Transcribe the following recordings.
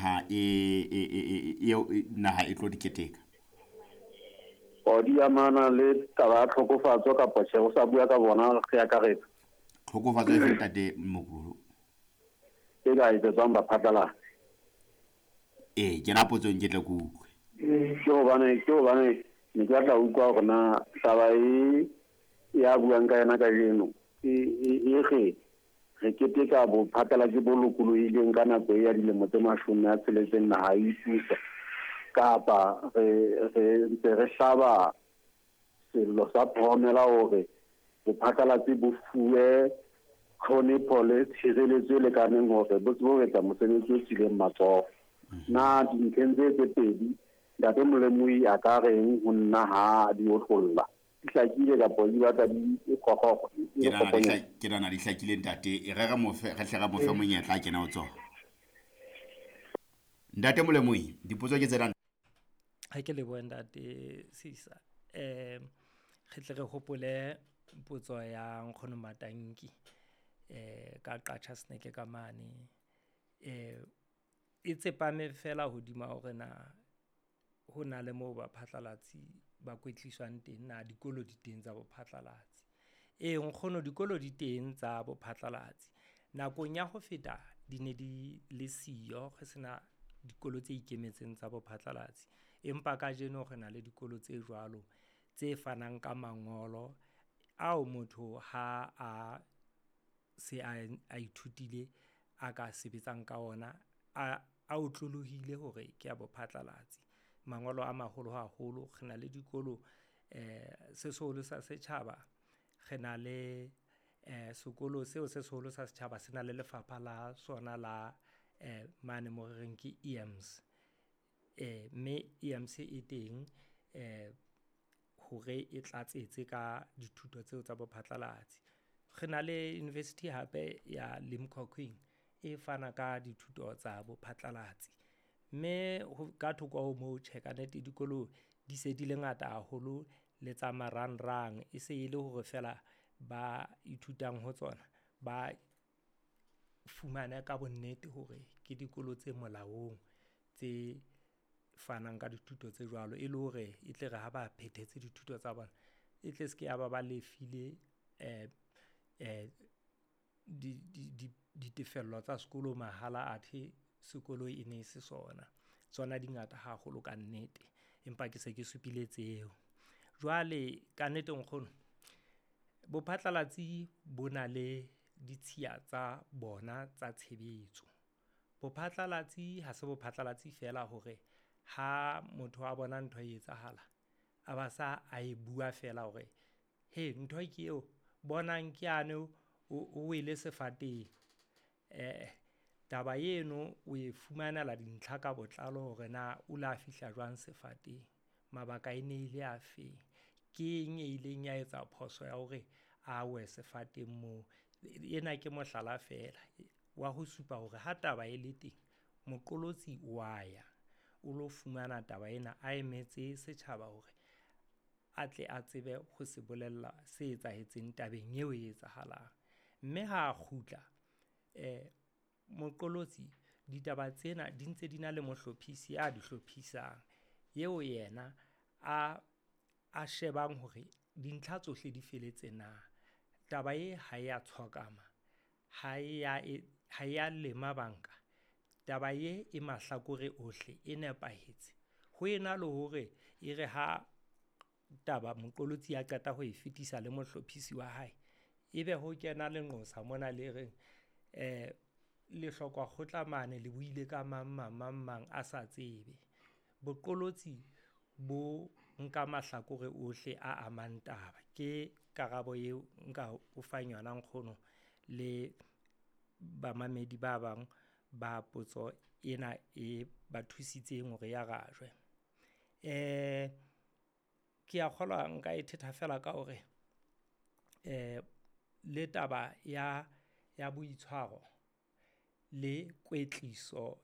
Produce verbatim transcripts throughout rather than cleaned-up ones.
naha e e e e naha e tlo di keteka. O di amana le taba ya tlhokofatso kapa tjhe, o sa bua ka bona re akaretsa. Tlhokofatso e fe ntate Mokulo? E ka etsetswang baphatlalatsi. Ee, kena potsong ke tle ke utlwe. Ke hobane ke hobane ne ke batla ho utlwa hore na taba e ya buang ka yena kajeno e e re re keteka bophatlalatsi bo lokolohileng ka nako e ya dilemo tse mashome a tsheletseng naha e ipusa, kapa re re ntse re hlaba sello sa phomela hore bophatlalatsi bo fuwe tlhonepho le tshireletso e lekaneng hore bo tsebe ho etsa mosebetsi o tswileng matsoho. Na dintlheng tse tse pedi ntate Molemohi a ka reng ho nna ha di otlolla? Di hlakile kapa di batla di kgokgo? Ke nahana di hlakile ntate. E re re mo fe, re hle re mo fe monyetla a kena ho tsona. Ntate Molemohi, dipotso ke tsena. Ha ke lebohe ntate Sisa. Eh re tle re hopole potso ya nkgono Matanki eh ka Qacha Snake ka mane. Eh e tsepame fela hodima hore na ho na le moo baphatlalatsi ba kwetliswang teng, na dikolo di teng tsa bophatlalatsi. Ee nkgono, dikolo di teng tsa bophatlalatsi. Nakong ya ho feta di ne di le siyo, re sena dikolo tse ikemetseng tsa bophatlalatsi. Empa kajeno re na le dikolo tse jwalo tse fanang ka mangolo ao motho ha a se a a ithutile a ka sebetsang ka ona, a a otlolohile hore ke a bophatlalatsi. Mangolo a maholo haholo. Re na le dikolo eh se seholo sa setjhaba, re na le eh sekolo seo se seholo sa setjhaba se na le lefapha la sona la eh mane mo re reng ke E M S. Eh mme E M S e teng eh hore e tlatsetse ka dithuto tseo tsa bophatlalatsi. Re na le university hape ya Limkokwing e fana ka dithuto tsa bophatlalatsi. Mme ka thoko ho moo, tjhe ka nnete dikolo di se di le ngata haholo le tsa marangrang, e se e le hore fela ba ithutang ho tsona ba fumane ka bonnete hore ke dikolo tse molaong tse fanang ka dithuto tse jwalo, e le hore e tle re ha ba phethetse dithuto tsa bona e tle se ke ya ba ba lefile eh eh di di ditefello tsa sekolo mahala, athe sekolo e ne se sona. Tsona di ngata haholo ka nnete, empa ke se ke supile tseo. Jwale ka nnete nkgono, bophatlalatsi bo na le ditshiya tsa bona tsa tshebetso. Bophatlalatsi ha se bophatlalatsi fela hore ha motho a bona ntho e etsahala a ba sa a e bua fela hore he ntho ke eo, bonang ke yane o wele sefateng. Eh taba eno o e fumanela dintlha ka botlalo hore na o la fihla jwang sefateng, mabaka e ne ile a feng, ke eng e ileng ya etsa phoso ya hore a we sefateng moo. Ena ke mohlala fela wa ho supa hore ha taba e le teng, moqolotsi wa ya o lo fumana taba ena, a emetse setjhaba hore a tle a tsebe ho se bolella se etsahetseng tabeng eo e etsahalang. Mme ha a kgutla eh moqolotsi, ditaba tsena di ntse di na le mohlophisi a di hlophisang, eo yena a a shebang hore dintlha tsohle di feletse na, taba e ha ya tshokama, ha ya ha ya lema banka, taba e e mahlakore ohle e nepahetse. Ho ena le hore e re ha taba moqolotsi a qeta ho e fetisa le mohlophisi wa hae, ebe ho kena lenqosa mona le reng eh le hlokwa kgotla mane le buile ka mang mang mang mang a sa tsebe. Boqolotsi bo nka mahlakore ohle a amang taba. Ke karabo eo nka o fang yona nkgono le bamamedi ba bang ba potso ena e ba thusitseng hore ya rajwe. Eh ke a kgolwa nka e thetha fela ka hore eh le taba ya ya boitshwaro le kwetliso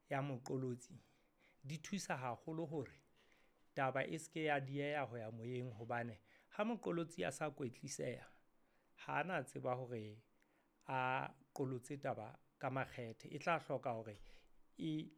ya moqolotsi di thusa haholo hore taba e seke ya dieha ho ya moyeng, hobane ha moqolotsi a sa kwetliseha ha na tseba hore a qolotse taba ka makgethe, e tla hloka hore e